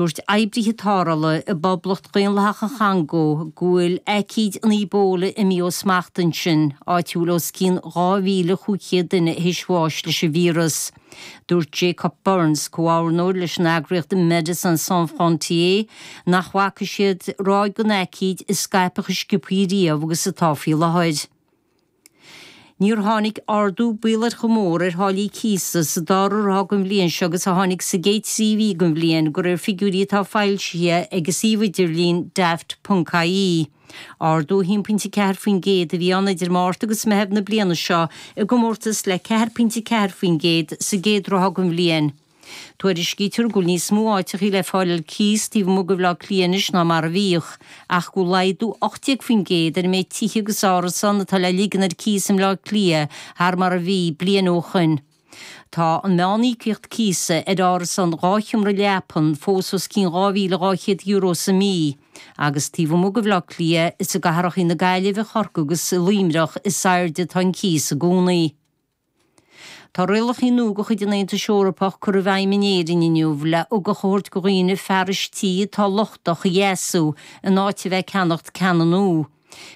Dúirt oibrithe tarrthála i bPoblacht Dhaonlathach an Chongó go bhfuil aicíd an Ebola imithe ó smacht ansin, áit a bhfuil os cionn 2,500 duine théis bháis leis an víreas. Dúirt Jacob Burns, comhordaitheoir leis an eagraíocht Médecins Sans Frontières, nach bhfaca siad ráig den aicíd ag scaipeadh chomh sciobthaí riamh agus atá faoi láthair. Níor tháinig ardú baolach chomh mór ar tháillí cíosa sa dara ráithe den bhliain seo agus a tháinig sa gcéad 3 mhí den bhliain, de réir figiúirí atá foilsithe ag an suíomh idirlín Daft.ie. Ardú 1.4% a bhí ann idir Márta agus Meitheamh na bliana seo i gcomórtas le 4.4% sa gcéad ráithe den bhliain. Tuairiscítear go bhfuil níos mó áiteachaí le fáil ar cíos taobh amuigh de Bhaile Átha Cliath anois ná mar a bhíodh, ach go bhfuil laghdú 18% ar an méid tithe agus árasán atá le ligean ar cíos i mBleá Cliath thar mar a bhí bliain ó shoin. Tá an meán-íocaíocht cíosa ar árasán 2 sheomra leapan fós os cionn €2,200 sa mí, agus taobh amuigh de Bhaile Átha Cliath, is i gcathrachaí na Gaillimhe, Chorcaí agus i Luimneach is airde atá an cíos i gcónaí. Tá rialacha nua de chuid an Aontais Eorpach curtha i bhfeidhm in Éirinn inniu le ugach a thabhairt do dhaoine fearais tí atá lochtach a dheasú in áit a bheith ag ceannacht ceanna nua.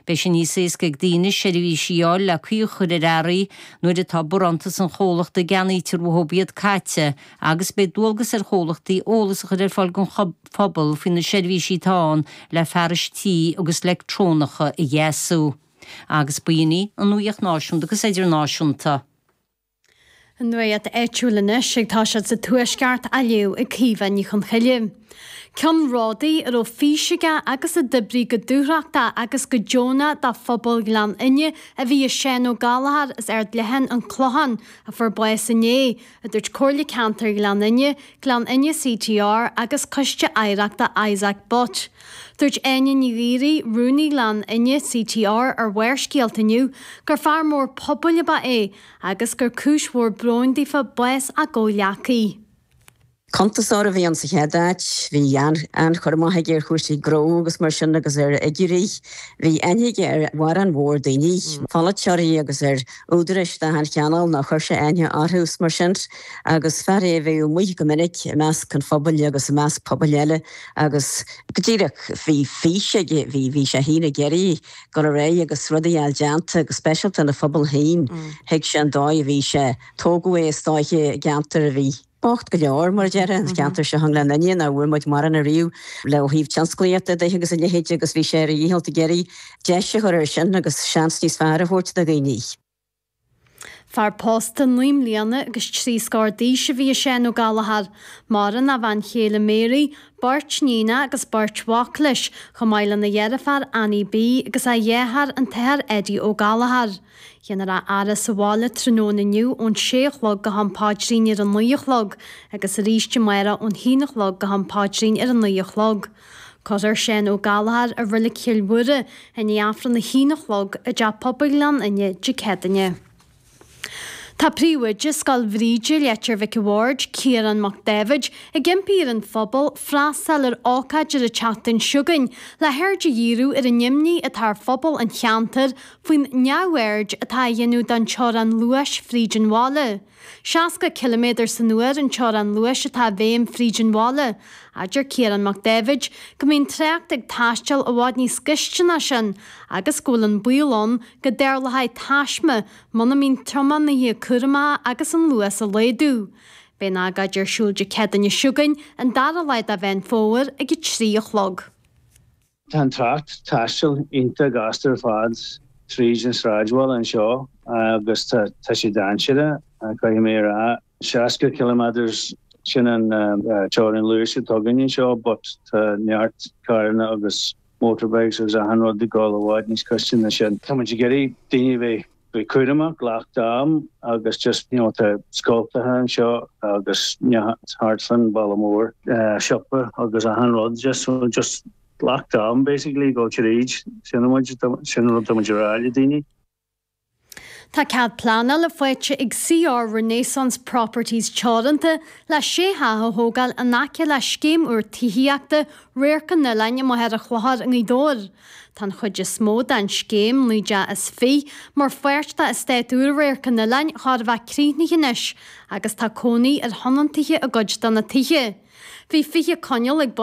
Beidh sé níos éasca ag daoine seirbhísí a fháil le caoi a chur ar earraí nuair atá barántas an chomhlachta a gceannaítear uathu iad caite agus beidh dualgas ar chomhlachtaí eolas a chur ar fáil don phobal faoi na seirbhísí atá ann le fearais tí agus leictreonacha a dheasú. Agus b'in í an nuaíocht náisiúnta agus idirnáisiúnta. An nuaíocht áitiúil anois ag toiseacht sa Tuaisceart á léamh ag Caoimhe Ní Chonchoille. Ceannródaí a raibh fís aige agus a d'oibrigh go dúthrachtach agus go deonach do phobal Ghleann Fhinne a bhí i Seán Ó Gallchóir as Ard Leatháin, An Clochán, a fuair bás inné, a dúirt Comhairle Ceantair Ghleann Fhinne, Gleann Fhinne CTR agus Coiste Oidhreachta Isaac Butt. Dúirt Áine Ní Ghaoraí, Rúnaí Ghleann Fhinne CTR ar Bharrscéalta inniu gur fear mór pobail ab ea é agus gur cúis mhór bróin daofa bás a gcomhghleacaí. Cuntasóir a bhí ann sa chéad áit. Bhí an-chur amach aige ar chúrsaí gnó agus mar sin agus ar fhigiúirí. Bhí aithne aige ar mhórán mhór daoine, polaiteoirí agus ar údaráis d'achan chineál nó chuir sé aithne orthu is mar sin. Agus fear é a bhíodh amuigh go minic i measc an phobail agus i measc pobail eile agus go díreach bhí fís aige, bhí, bhí sé féin ag iarraidh dul ar aghaidh agus rudaí a fháil déanta go speisialta ina phobal féin. Thuig sé an dóigh a bhí sé, tógadh é is dóiche i gceantar a bhí. bocht go leor, mar a déarfá, an ceantar seo i nGleann Fhinne, nach bhfuair muid mórán ariamh le ó thaobh tionsclaíochta de agus a leithéid agus bhí sé ar a dhícheall ag iarraidh deis a chur air sin agus seans níos fearr a thabhairt do dhaoine. Fear pósta naoi mbliana agus trí scór d'aois a bhí i Seán Ó Gallchóir. Maireann a bhean chéile Mary, beirt níonacha agus beirt mhac leis, chomh maith lena dheirfiúr Annie B agus a dheartháir an tAthair Eddie Ó Gallchóir. Déanfar a fhaire sa bhaile tráthnóna inniu ón sé a chlog go ham paidrín ar a naoi a chlog agus arís amárach ón haon a chlog go ham paidrín ar a naoi a chlog. Cuirfear Seán Ó Gallchóir i Reilig Chill Mhuire i ndiaidh Aifreann a haon a chlog i dTeach Pobail Ghleann Fhinne Dé Céadaoine. Tá Príomhoide Scoil Bhríde, Leitir Mhic a' Bhaird, Ciarán Mac Dáibhid, ag impí ar an phobal freastal ar ócáid ar an tseachtain seo chugainn le haird a dhíriú ar an imní atá ar phobal an cheantair faoin neamhaird atá á dhéanamh don teorainn luais fríd an bhaile. 60 ciliméadar san uair an teorainn luais atá i bhfeidhm fríd an bhaile. Adeir Ciarán Mac Dáibhid go mbíonn trácht ag taisteal i bhfad níos gaiste ná sin agus go bhfuil an baol ann go dtarlóidh taisme muna mbíonn tiománaithe cúramach agus an luas a laghdú. Beidh an agóid ar siúl Dé Céadaoine seo chugainn, an dara lá de Mheán Fómhair ag 3 a chlog. Tá an trácht taistil iontach gasta ar fad tríd an sráidbhaile anseo agus tá sé dainséarach, caithfidh mé a rá. 60 kilometres, sin an teorainn luais atá againn anseo but tá neart carranna agus motorbikes agus achan rud ag dul i bhfad níos gaiste ná sin. Tá muid ag iarraidh daoine a bheith bheith cúramach, glac d'am agus just you know tá scoltacha anseo agus thart fán bhaile mór, siopa agus achan rud just so just glac d'am basically go tríd sin muid sin rud tá muid a rá le daoine. Tá cead pleanála faighte ag CR Renaissance Properties Teoranta le sé theach a thógáil in aice le scéim úr tithíochta Radharc an Oileáin i Machaire Chlochair i nGaoth Dobhair. Tá an chuid is mó den scéim, 19 dteach, mar pháirt d'eastát úr Radharc an Oileáin chóir a bheith críochnaithe anois agus tá cónaí ar thionóntaithe i gcuid de na tithe. Bhí 20 coinneal ag.